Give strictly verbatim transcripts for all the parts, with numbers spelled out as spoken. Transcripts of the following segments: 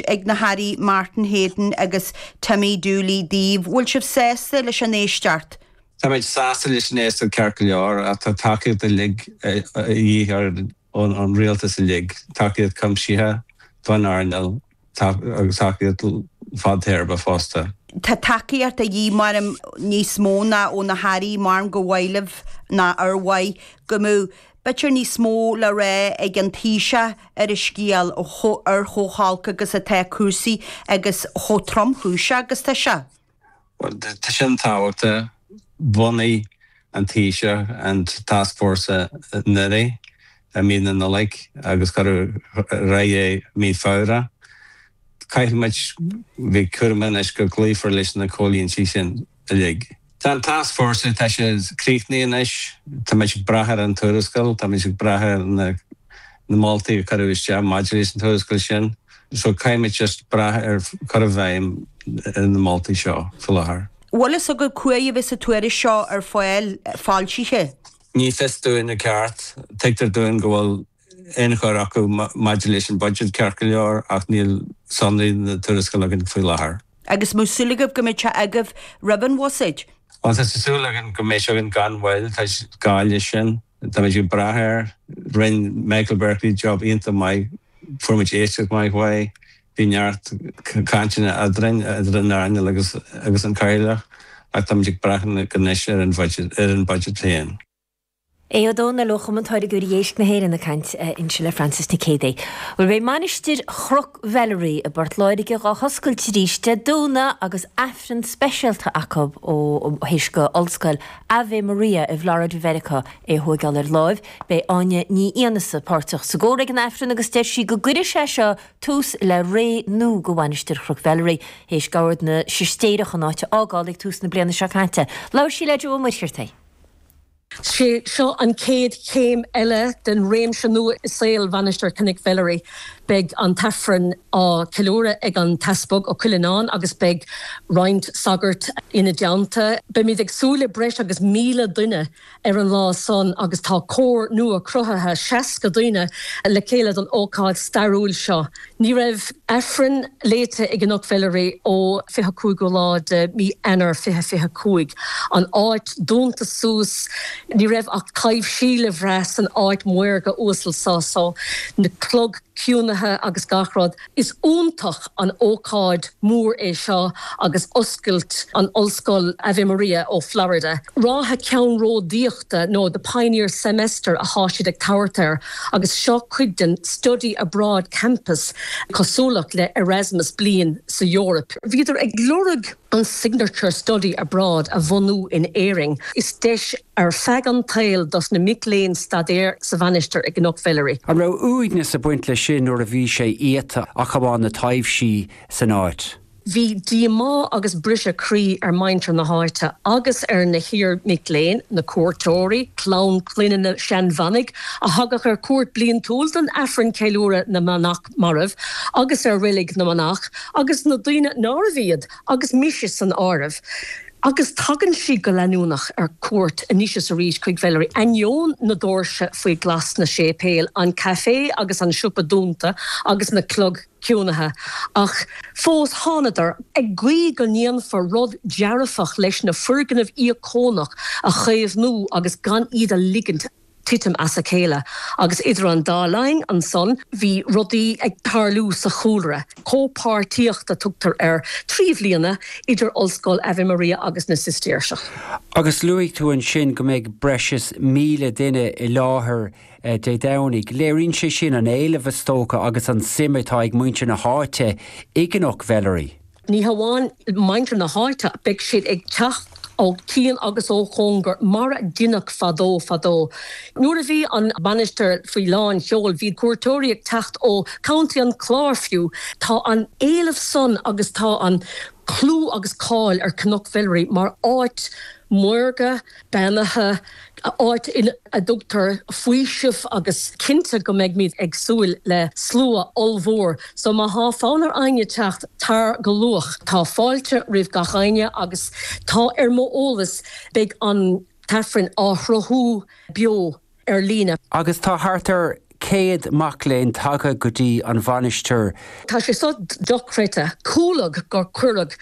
ag na hAirí Martin Heydon agus Timmy Dooley daoibh, bhfuil sibh sásta leis an éisteacht? Tá muid sásta leis an éisteacht ceart go leor ach tá tacaíocht uilig a dhíth ar an rialtas uilig, tacaíocht cuimsithe don earnáil agus tacaíocht fadtéarma fosta. Tá tacaíocht a dhíth mar níos mó ná ó na hairí mar go bhfuil ná ar mhaith go mbeadh b'fhéidir níos mó le rá ag an Taoiseach ar an scéal ar chomh holc agus atá cúrsaí agus chomh tromchúiseach agus tá sé. Well, tá sin tábhachtach bhunaigh an Taoiseach an taskforce anuraidh i mí na Nollag agus cuireadh ar aghaidh mí Feabhra. Caithfimid bheith cúramach anois go gcloífear leis na comhlíontaí sin uilig. Tá an taskforce tá sé críochnaithe anois, Tá muid ag brath ar an tuarascáil, Tá muid ag brath ar na na moltaí a cuireadh isteach maidir leis an tuarascáil sin. So caithfimid just brath ar chur i bhfeidhm na moltaí seo faoi láthair. Bhfuil fhios agaibh cá huair a bheas an tuairisc seo ar fáil foilsithe. Ní fios dúinn i gceart, tuigtear dúinn go bhfuil ionchur acu maidir leis an budget ceart go leor ach níl sonraí na tuarascála againn faoi láthair. Agus an bhfuil súil agaibh go mbeidh sé agaibh roimh an bhuiséad. Well tá súil againn go mbeidh sé againn gan mhoill tá gá leis sin, Tá muid ag brath air, rinne Michael Berkeley job iontach maith, fuair muid éisteacht maith uaidh, bhí neart cainteanna eadrainn idir an earnáil agus agus an cathaoirleach ach tá muid ag brath anois ar an budget ar an budget féin. Aodh Ó Domhnaill ó Chumann Táirgeoirí Éisc na hÉireann ag caint ansin le Francis Nic Géadaigh. Well beidh Mainistir Chnoc Mheilearaí i bPort Láirge á hoscailt arís Dé Domhnaigh agus Aifreann speisialta acu ó théis do Ollscoil Ave Maria i bhFlorida Mheiriceá é thógáil ar láimh, Beidh Áine Ní Fhiannasa páirteach sa gcór ag an Aifreann agus deir sí go gcuirfidh sé seo tús le ré nua do Mhainistir Chnoc Mheilearaí, théis d'Ord na Sistéireach an áit a fhágáil ag tús na bliana seo caite. Labhair sí le Joe Ó Muircheartaigh. Sé seo an chéad chéim eile den réimse nua i saol Mhainistir Chnoc Mheilearaí. Beidh an tAifreann á cheiliúradh ag an tEaspag Ó Cuileanáin agus beidh roinnt sagart ina dteannta. Beimid ag súil le breis agus míle duine ar an lá san agus tá cór nua cruthaithe seasca duine le chéile don ócáid stairiúil seo. Ní raibh Aifreann léite i gCnoc Mheilearaí ó fiche cúigiú lá de mí Eanáir fiche fiche cúig. An áit dúnta suas, ní raibh ach taibhsí le brath san áit maorga uasal seo so na cloig ciúnaithe agus gach rud. Is iontach an ócáid mór é seo agus oscailt an Ollscoil Ave Maria ó Florida. Ráithe ceannródaíochta nó the Pioneer Semester atá siad ag tabhairt air agus seo cuid den Study Abroad Campus cosúlacht le Erasmus bliain sa Eoraip. Bhíodar ag lorg an Signature Study Abroad a bhunú in Éirinn. Is deis ar feadh an tsaoil dos na mic léinn staidéar sa mhainistir i gCnoc Mheilearaí. An raibh uaigneas ag baint leis sin nuair a bhí sé iata ach amháin na taibhsí san áit. Bhí díomá agus briseadh croí ar mhuintir na háite agus ar na hiar-mhic léinn, na cuairteoirí, clann clainne na seanmhanaigh a thagadh ar cuairt bliantúil don Aifreann ceiliúradh na manach marbh agus ar reilig na manach agus na daoine nárbh iad agus mise san áireamh. Agus tagann siad go leanúnach ar cuairt anois is arís chuig Mheilearaí, ainneoin na doirse faoi ghlas sna séipéil, an caife agus an siopa dúnta agus na cloig ciúnaithe. Ach fós thánadar ag guí go ndéanfar rud dearfach leis na foirgnimh íocónach a chaomhnú agus gan iad a ligint titim as a chéile. Agus idir an dá linn ansan bhí rudaí ag tarlú sa chúlra. Comhpháirtíocht a tugtar air trí bliana idir Ollscoil Ave Maria agus na Sistéirseach. Agus luaigh tú ansin go mbeidh breis is míle duine i láthair Dé Domhnaigh. Léiríonn sé sin an éileamh is dócha agus an suim atá ag muintir na háite i gCnoc Mheilearaí. Ní hamháin muintir na háite, beidh siad ag teacht ó chian agus ó chóngar mar a deineadh fadó fadó. Nuair a bhí an mhainistir faoi lán sheoil, bhí cuairteoirí ag teacht ó County an Chláir fiú. Tá an éileamh san agus tá an clú agus cáil ar Chnoc Mheilearaí mar áit mhaorga, beannaithe, áit ina dtugtar faoiseamh agus cinnte go mbeimid ag súil le slua ollmhór. So má thá fonn ar éinne teacht, tar go luath. Tá fáilte roimh gach éinne agus tá ar mo eolas beidh an tAifreann á shruthú beo ar líne. Agus tá thart ar céad mac léinn tagtha go dtí an mhainistir. Tá sé so dochreidte, chuala gur cuireadh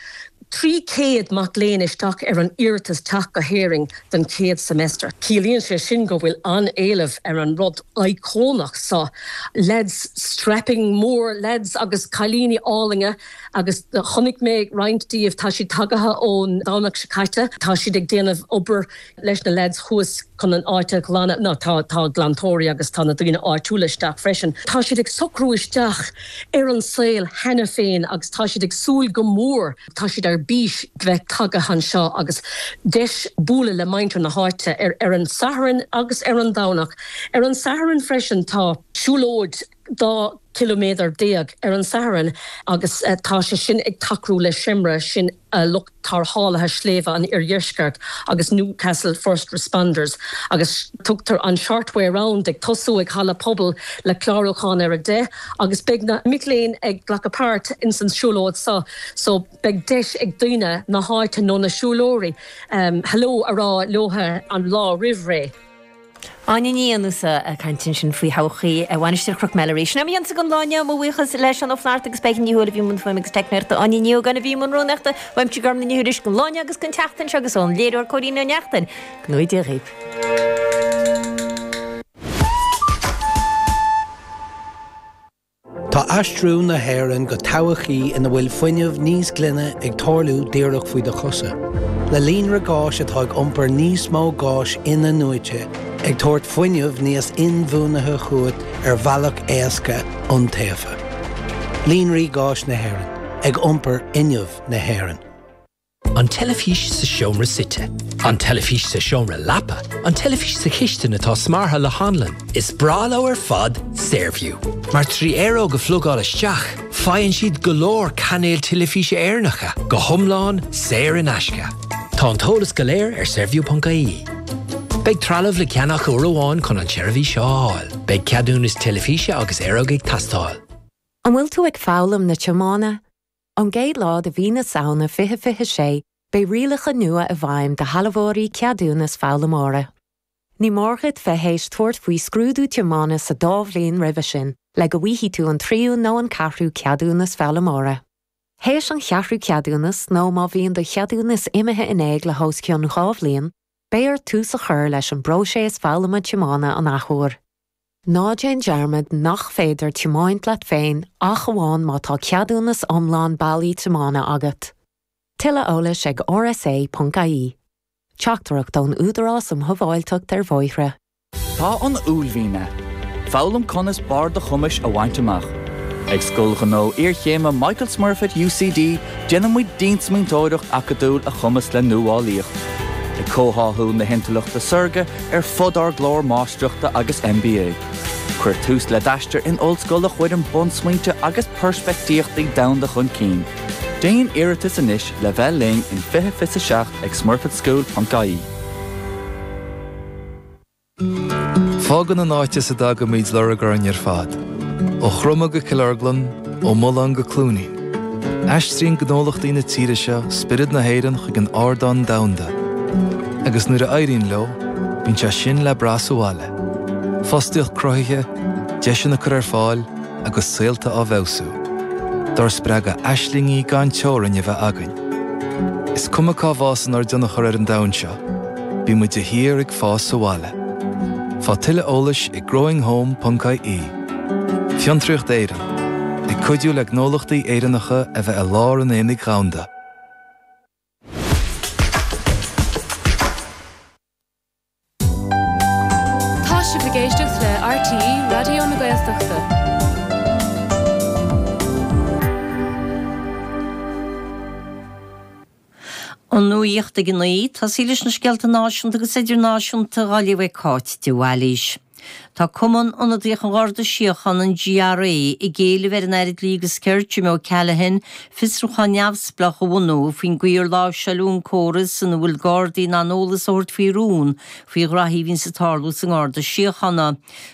trí chéad mac léinn isteach ar an iarratas teacht go hÉirinn don chéad semester. Ciallaíonn sé sin go bhfuil an-éileamh ar an rud íocónach so. Lads strapping mór lads agus cailíní álainne agus chonaic mé roinnt díobh tá siad tagaithe ón Domhnach seo caite, tá siad ag déanamh obair leis na lads thuas chun an áit a ghlanadh, ná tá tá glantóirí agus tá na daoine áitiúla isteach freisin. Tá siad ag socrú isteach ar an saol cheana féin agus tá siad ag súil go mór, tá siad ar bís bheith tagaithe anseo agus deis bualadh le muintir na háite ar ar an Satharn agus ar an Domhnach. Ar an Satharn freisin tá siúlóid dhá ciliméadar déag ar an Satharn agus tá sé sin ag tacú le Seimre, sin lucht tarrthálaithe sléibhe an Iardheiscirt agus Newcastle First Responders agus tugtar an Short Way Round ag tosú ag halla pobail le clárúchán ar a deich agus beidh na mic léinn ag glacadh páirt ins an siúlóid so so beidh deis ag daoine na háite nó na siúlóirí hello a rá leo an lá roimh ré. Áine Ní Fhionnúsa ag caint ansin faoi thodhchaí Mhainistir Chnoc Meilearaí. Sin é mo dhíonsa don lá inniu, mo bhuíochas le Seán Ó Flatharta agus Peigí Ní Thuathail a bhí i mbun fuaime agus teicneoireachta, Áine Ní Ógáin a bhí i mbun rúnaíochta, uaimse Gormlaith Ní Thuairisg don lá inniu agus don tseachtain seo agus ón léiritheoir Cóilín Ó Neachtain. Go ngnóthaí Dia dhaoibh. Tá aistriú na hÉireann go todhchaí ina bhfuil fuinneamh níos glaine ag tarlú díreach faoi do chosa. Le líonra gáis atá ag iompar níos mó gáis in-athnuaite, ag tabhairt fuinneamh níos inbhuanaithe chugat ar bhealach éasca iontaofa. Líonraí Gáis na hÉireann, ag iompar fhuinneamh na hÉireann. An teilifís sa seomra suite. An teilifís sa seomra leapa. An teilifís sa chistin atá smeartha le hanlann. Is breá leo ar fad Saorview. Mar trí aeróg a phlugáil isteach, faigheann siad go leor cainéil teilifíse Éireannacha, go hiomlán saor in aisce. Tá an t-eolas go léir ar saorview.ie. Beidh trealamh le ceannach uair amháin chun an tseirbhís seo a fháil. Beidh ceadúnas teilifíse agus aeróg ag teastáil. An bhfuil tú ag foghlaim na tiomána? Ón gcéad lá de mhí na Samhna fiche fiche sé, beidh rialacha nua i bhfeidhm do shealbhóirí ceadúnas foghlaimeora. Ní mór duit bheith théis tabhairt faoi scrúdú tiomána sa dá bhliain roimhe sin, le go bhfaighidh tú an tríú nó an ceathrú ceadúnas foghlaimeora. Théis an cheathrú ceadúnas nó má bhíonn do cheadúnas imithe in éag le hos cionn dhá bhliain, beidh ort tús a chur leis an bpróiseas foghlama tiomána an athuair. Ná déan dearmad nach féidir tiomáint leat féin ach amháin má tá ceadúnas iomlán bailí tiomána agat. Tuilleadh eolais ag rsa.ie. Teachtaireacht ón Údarás um Shábháilteacht ar Bhóithre. Tá an uaillmhian ann. Foghlaim conas barr do chumais a bhaint amach. Ag Scoil Ghnó Iarchéime Michael Smurfit UCD déanann muid diansmaointeoireacht acadúil a chumasc le nuálaíocht. Ag comhtháthú na hintleachta saorga ar fud ár gclár máistreachta agus MBA. Cuir tús le d'aistear in ollscoil a chuireann bunsmaointe agus peirspictíochtaí domhanda chun cinn. Déan iarratas anois le bheith linn in fiche fiche seacht ag smurfitschool.ie. Fágann an áit as a dtagaimid lorg orainn ar fad. Ó Chromtha go Cill Orglan, ó Mullán go Cluainín. Aistríonn gnólachtaí na tíre seo spiorad na hÉireann chuig an ardán domhanda. Agus nuair a éiríonn leo, bíonn sé sin le brath sa bhaile. Fostaíocht cruthaithe, deiseanna curtha ar fáil agus saolta á bhfeabhsú. Dár spreagadh aislingí gan teorainn a bheith againn. Is cuma cá bhfásann ár dtionchar ar an domhan seo, bíonn muid de shíor ag fás sa bhaile. Faigh tuilleadh eolais ag growinghome.ie. Fiontraíocht Éireann, ag cuidiú le gnólachtaí Éireannacha a bheith i lár an aonaigh dhomhanda. Tá sibh ag éisteacht le RTÉ Raidió na Gaeltachta. An nuacht ag a naoi, tosaí leis na scéalta náisiúnta agus idirnáisiúnta á léamh ag Cáit de Bhailís. Tá Cumann Ionadaíoch an Gharda Síochána an GRA ag éileamh ar an Aire Dlí agus Cirt Jim O'Callaghan fiosrúchán neamhspleách a bhunú faoin gcaoi ar láimhseáladh an córas ina bhfuil Gardaí in ann eolas a thabhairt faoi rún faoi ghraithí a bhíonn ag tarlú sa nGarda Síochána.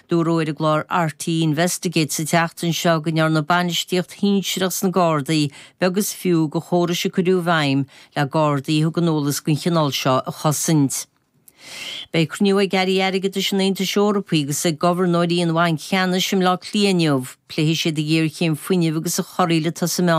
Dúradh ar an gclár RTÉ Investigate sa tseachtain seo go ndearna bainistíocht shinsearach sna Gardaí beag is fiú de chórais a cuireadh i bhfeidhm le Gardaí a thugann eolas den chineál seo a chosaint. Beidh cruinniú ag Airí Airgeadais an Aontais Eorpaigh agus ag gobharnóirí an Bhainc Cheannais i mBleá Cliath inniu, pléifidh siad an ghéarchéim fuinnimh agus a chorraíl atá sa meán